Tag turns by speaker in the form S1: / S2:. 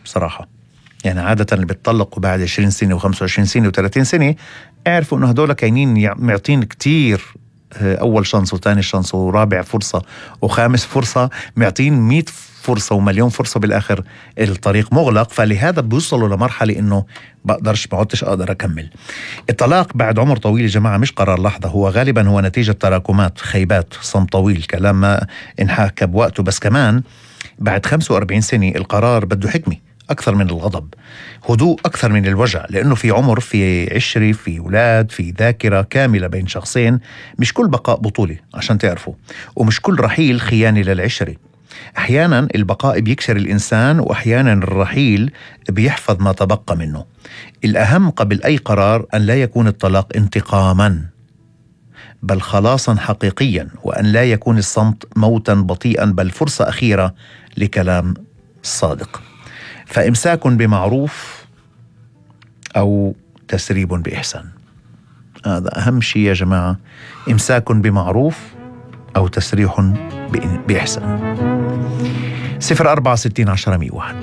S1: بصراحة. يعني عادة اللي بيتطلقوا بعد 20 سنة و25 سنة و30 سنة اعرفوا انه هدول كاينين معطين كتير أول شانس وثاني شانس ورابع فرصة وخامس فرصة، معطين 100 فرصة ومليون فرصة، بالآخر الطريق مغلق. فلهذا بيوصلوا لمرحلة إنه بقدرش بعدتش أقدر أكمل. الطلاق بعد عمر طويل يا جماعة مش قرار لحظة، هو غالبا هو نتيجة تراكمات، خيبات، صمت طويل، كلام ما انحكى بوقته. بس كمان بعد 45 سنة القرار بده حكمة أكثر من الغضب، هدوء أكثر من الوجع، لأنه في عمر، في عشرة، في أولاد، في ذاكرة كاملة بين شخصين. مش كل بقاء بطولة عشان تعرفوا، ومش كل رحيل خيانة للعشرة. أحيانا البقاء بيكسر الإنسان، وأحيانا الرحيل بيحفظ ما تبقى منه. الأهم قبل أي قرار أن لا يكون الطلاق انتقاما، بل خلاصا حقيقيا، وأن لا يكون الصمت موتا بطيئا، بل فرصة أخيرة لكلام صادق. فإمساك بمعروف أو تسريب بإحسان، هذا أهم شيء يا جماعة. إمساك بمعروف أو تسريح بإحسان. 04 60 10 101.